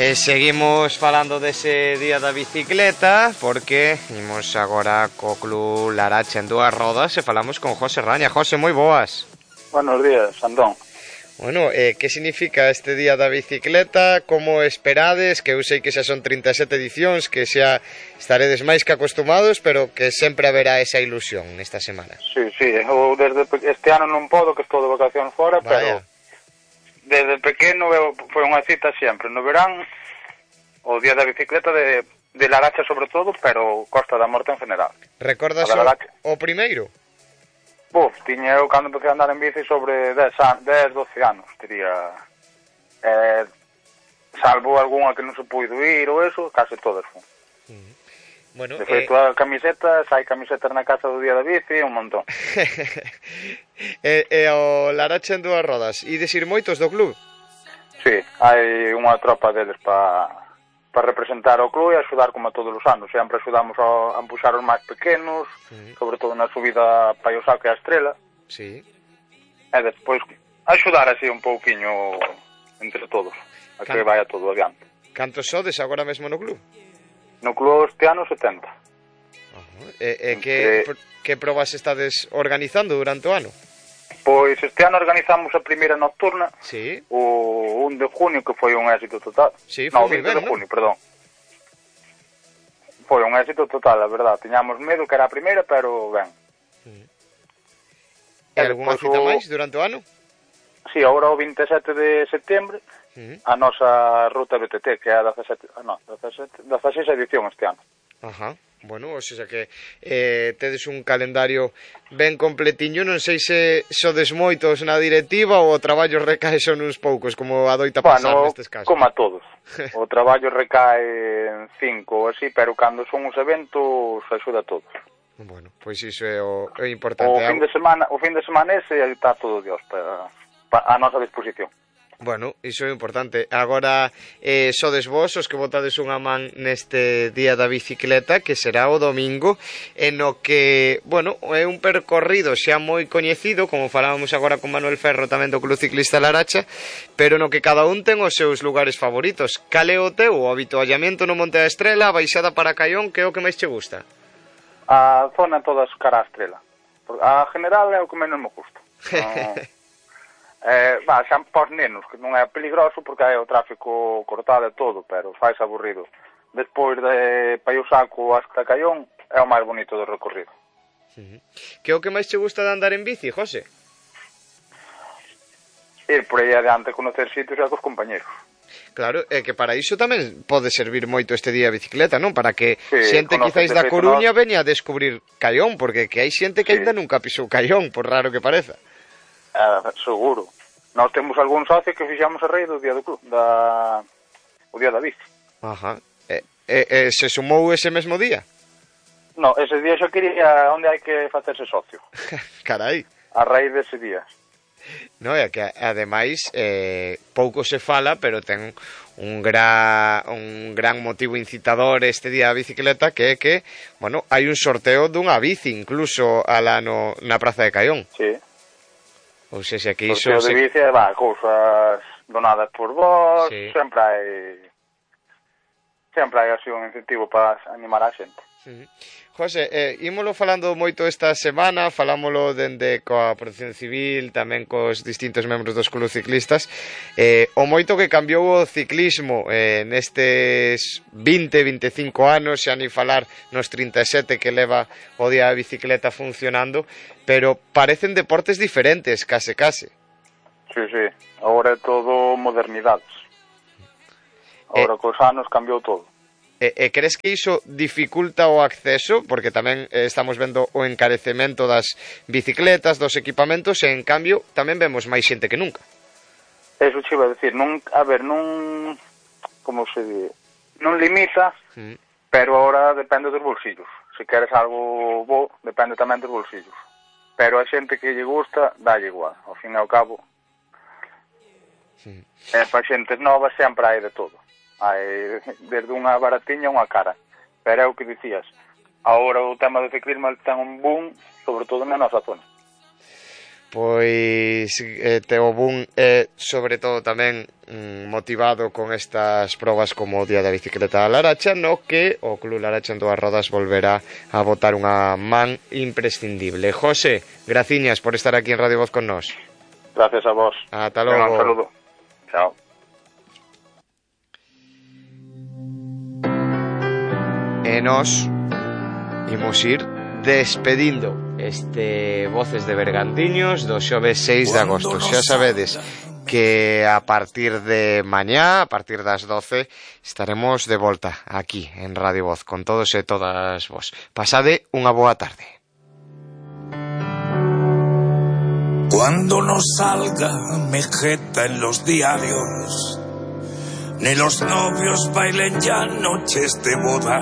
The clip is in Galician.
Seguimos falando dese día da bicicleta porque imos agora co Club Laracha en dúas rodas e falamos con José Raña. José, moi boas. Buenos días, Andón. Bueno, que significa este día da bicicleta? Como esperades? Que eu sei que xa son 37 edicións, que xa estaredes máis que acostumados, pero que sempre haberá esa ilusión nesta semana. Sí, eu desde este ano non podo, que estou de vacacións fora, Vaya. pero desde pequeno foi unha cita sempre, no verán, o día da bicicleta de Laracha sobre todo, pero Costa da Morte en general. Recordas o primeiro? Tiña eu cando empecé a andar en bici sobre 10, 12 anos, diría. Salvo algunha que non se puido ir ou eso, case todas fun. Bueno, de feito, a camisetas, hai camisetas na casa do día da bici, un montón. O Laracha en dúas rodas, ides ir moitos do club? Sí, hai unha tropa deles para representar o club e axudar como a todos os anos. Sempre axudamos a empuxar os máis pequenos, sobre todo na subida para o Saco e a Estrela. Sí. E despois axudar así un pouquiño entre todos, a que vaya todo adiante. Cantos sodes agora mesmo no club? No club este ano 70. Que probas estades organizando durante o ano? Pois este ano organizamos a primeira nocturna, sí. O 1 de junio, que foi un éxito total. Sí, foi moi ben, de junio, perdón. Foi un éxito total, a verdad. Tiñamos medo que era a primeira, pero ben. E algunha cita máis durante o ano? Sí, agora o 27 de setembro, a nosa ruta BTT, que é a 16 edición este ano. Ajá. Bueno, o sea que tedes un calendario ben completiño. Non sei se sodes moitos na directiva ou o traballo recae son uns poucos, como adoita pasar nestes casos. Como a todos. O traballo recae en 5 ou así, pero cando son os eventos axuda a todos. Bueno, pois iso é o importante. O fin de semana ese está todo Dios a nosa disposición. Bueno, iso é importante. Agora sodes vos os que botades unha man neste día da bicicleta, que será o domingo, en o que, bueno, é un percorrido xa moi coñecido, como falábamos agora con Manuel Ferro tamén do Club Ciclista Laracha, pero no que cada un ten os seus lugares favoritos. Cal é o teu? O avituallamiento no Monte da Estrela, a baixada para Caión, que é o que máis che gusta? A zona todas cara a Estrela. A general é o que menos me gusta. Xa pos nenos, que non é peligroso porque hai o tráfico cortado e todo, pero faz aburrido. Despois de Paio Saco hasta Caión é o máis bonito do recorrido. Que é o que máis che gusta de andar en bici, José? Ir por aí adiante, conocer sitios e cos compañeros. Claro, é que para iso tamén pode servir moito este día a bicicleta, non? Para que xente quizáis da Coruña veña a descubrir Caión, porque que hai xente que ainda nunca pisou Caión, por raro que pareza. Seguro. Nós temos algún socio que fixamos a rei do día do club, o día da bici. Ajá. Se sumou ese mesmo día? No, ese día xa quería onde hai que facerse socio. Carai. A raíz dese día. No, é que ademais pouco se fala, pero ten un gran motivo incitador este día da bicicleta, que é que, bueno, hai un sorteo dunha bici incluso alá na Praza de Caión. Sí. Ou seja, que iso... Sorteo de bici, cousas donadas por vos, sí. Sempre hai así un incentivo para animar a xente. José, ímolo falando moito esta semana, falámolo dende coa Protección Civil, tamén cos distintos membros dos clubs ciclistas, o moito que cambiou o ciclismo nestes 20-25 anos, xa ni falar nos 37 que leva o día da bicicleta funcionando, pero parecen deportes diferentes, case. Sí, agora é todo modernidades. Agora cos anos cambiou todo. Crees que iso dificulta o acceso? Porque tamén estamos vendo o encarecemento das bicicletas, dos equipamentos, e en cambio tamén vemos máis xente que nunca. Eso che iba a decir, como se di, non limita, pero ahora depende dos bolsillos. Se queres algo bo, depende tamén dos bolsillos. Pero a xente que lle gusta, dalle igual, ao fin e ao cabo. Para xentes novas sempre hai de todo. Hai desde unha baratiña a unha cara. Pero é o que dicías, agora o tema do ciclismo ten un boom, sobre todo na nosa zona. Pois o boom é sobre todo tamén motivado con estas probas como o Día da Bicicleta da Laracha, no que o Club Laracha en Dúas Rodas volverá a botar unha man imprescindible. José, graciñas por estar aquí en Radio Voz con nós. Gracias a vos. Ata logo. Un saludo. Chao. E nós imos ir despedindo este Voces de Bergantiños do xoves 6 de agosto. Xa sabedes que a partir de mañá, a partir das 12, estaremos de volta aquí en Radio Voz con todos e todas vos. Pasade unha boa tarde. Cuando no salga Mejeta en los diarios, ni los novios bailen ya noches de boda,